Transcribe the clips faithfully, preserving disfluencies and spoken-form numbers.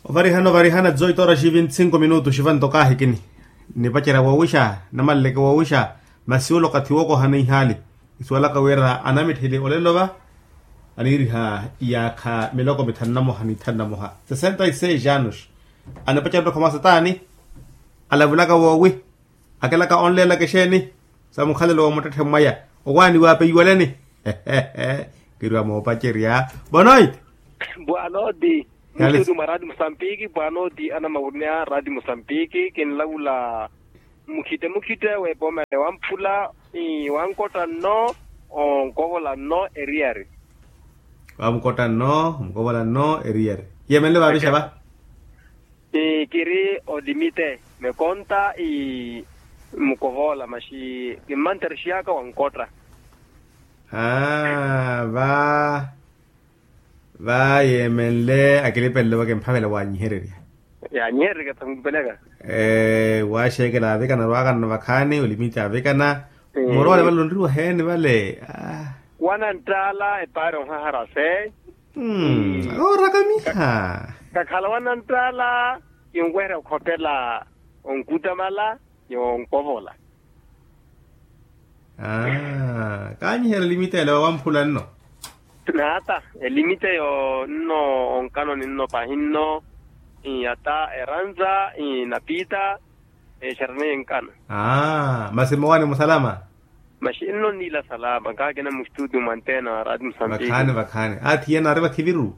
Ovarihana ovarihana dezoito horas e vinte e cinco minutos ivanto kaahikini. Nipacerya woowixa, namaleleke woowixa. Masi ole okathi wookohana ihaali. Isuwalaka wira anamitthili olelo va aniiriha iyaakha miloko mithanu na moha ni ithanu na moha sesenta e seis anos. Anipacerya ntokha mwa sataani. Alavulaka woowi. Akilaka onleelaka exeeni sa mukhalelo wa muttetthe mwaya. Owaani waapeiwaleni. Kiriwa moopacerya. Boa noite. Boa noite. Muxutu mwa radi musambiki boa noite anamawuneya radi musambiki kinlavula. Mukhite mukhite w'epooma ya wamphula wankotta nno. Onkovola nno eriyari. Wamkotta nno onkovola nno eriyari. Yemenle vaavixa va. Kiri olimite mekonta mukovola maxi kimmanterexiyaka wankotta. Aa va va yeemenle akilipelele wakimphavela wanyihererya. Yanyihererya thankupeleka. Waaxeekela avikana arwaakanano vakhaani olimite avikana. Moroole vale onriwa heeni vale. Wananttaala epaari onhaharase. Akooraka miha. Kakhala wananttaala kinweherya okhopela onkutamala. Yonkovola. Kaanyiherya elimite ela wamphula nno. Naata elimite yo nno onkanoni nno pahi nno. Ata eranza napiita exarana yenkana. Masi mowaani musalama. Maxi nno niila salama nkahakina mustutio mwantena rati musambiki. Vakhaani vakhaani athi yena ari vakhiviru.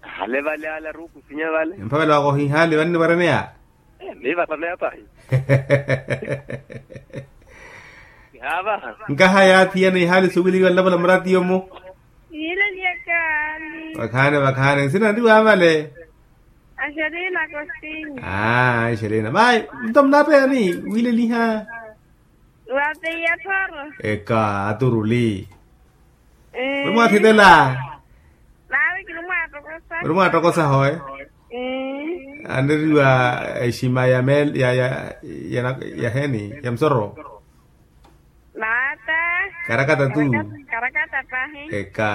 Hale vale ale arukusinya vale. Emphavela wakohihaali vanni vareneya. Miivatameyatahi. Nkaha yaathi yene ihaali suwiliwa nlavula muratiyo-mu. Yiileliyaka. Vakhaani vakhaani nsina nriwa vale. Axelina kostinya. Aa axelina vai. Nto munapeyani wiileliha. Wapeiya thoro. Eka aturuli. Muli mwaathitela. Nawe kiri mwaatokosa. Muli mwaatokosa hoye. Aneriwa exima ya mel ya ya ya heeni ya musoro. Naata. Karakata tu. Karakata pahi. Eka.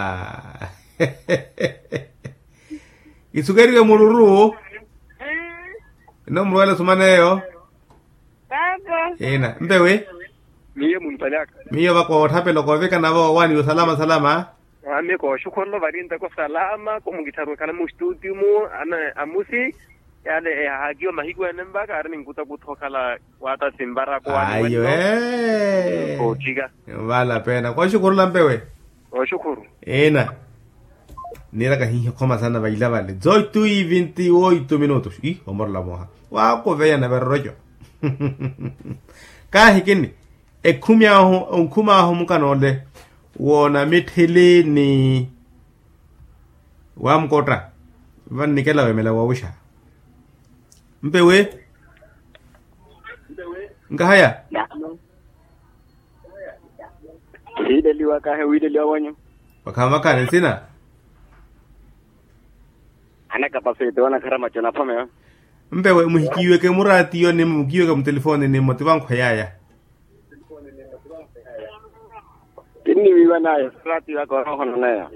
Isukeriwe mururu. Ino murwela sumaneyo. Paapa. Ina mpewe. Miyo munipanyaka. Miyo vakoothapela okoovikana vo owaani osalama salama. Ami kooxukhurelo vari nteko salama ko mukittharu ekhala mustutio-mu. Amusi yale ehahakiwa mahiku ene mva kaari ninkutakutha okhala. Waata simbarako waani. Ayo. Kootthika. Vala pena kooxukhurela mpewe. Kooxukhuru. Ina. Niiraka hihi okhoma sana vaila vale dezoito e vinte e oito minutos ih omorola mooha. Waakuveya naveroroco. Kaahikini ekhumi ahu onkhumi ahu mukana ole. Woonamitthili ni wamukotta. Vannikela wemela woowixa. Mpewe. Nkahaya. Kihiileliwa kahi wiileliwa wanyu. Vakhaani vakhaani nsina. Anakapaseti wanakharama conaphomewa. Mpewe muhikiiweke muraatiyo nimmo mukiiweke mutelifooni nimmo ti vankhweyaya. Kinniwiiwa nayo suraatiyo aka oroohono neyo.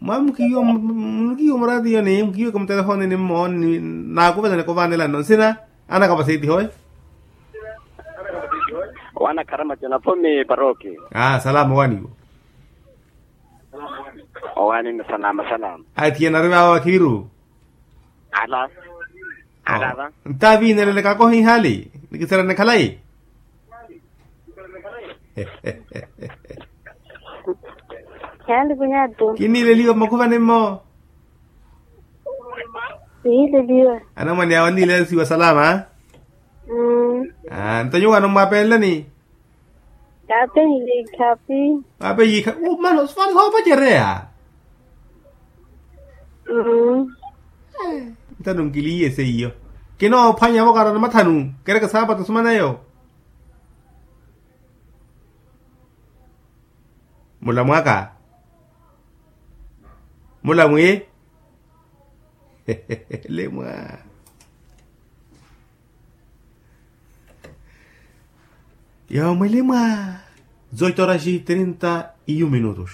Mwa mukiiwa mukiiwa muraatiyo ni mukiiweke mutelifooni nimmo naakuvelani kuvaanela nno nsina. Anakapaseti hoye. Wanakharama conaphomi parooki. Aa salama owaaniwo. Owaani nno salama salama. Athiye nari vaavo vakhiviru. Ala. Ala va. Ntaviinelelekaka ohihaali nikiserene khalayi. Yaali kunyatu. Kiniileliwa mmakhuvani mmo. Kihiileliwa. Anamwane awo aniilelesiwa salama. Nto nyuwo anommwapelelani. Kaapeiye ikhapi. Kaapeiye ikhapi mana osifani hoopacereya. Nthanu nkiliiye seiyo. Kinoophwanya vokara na mathanu kereke saapata osumaneyo. Mulamwaka. Mulamwi. Lemwa. Yomwili mwa zoito horas trinta e um minutos.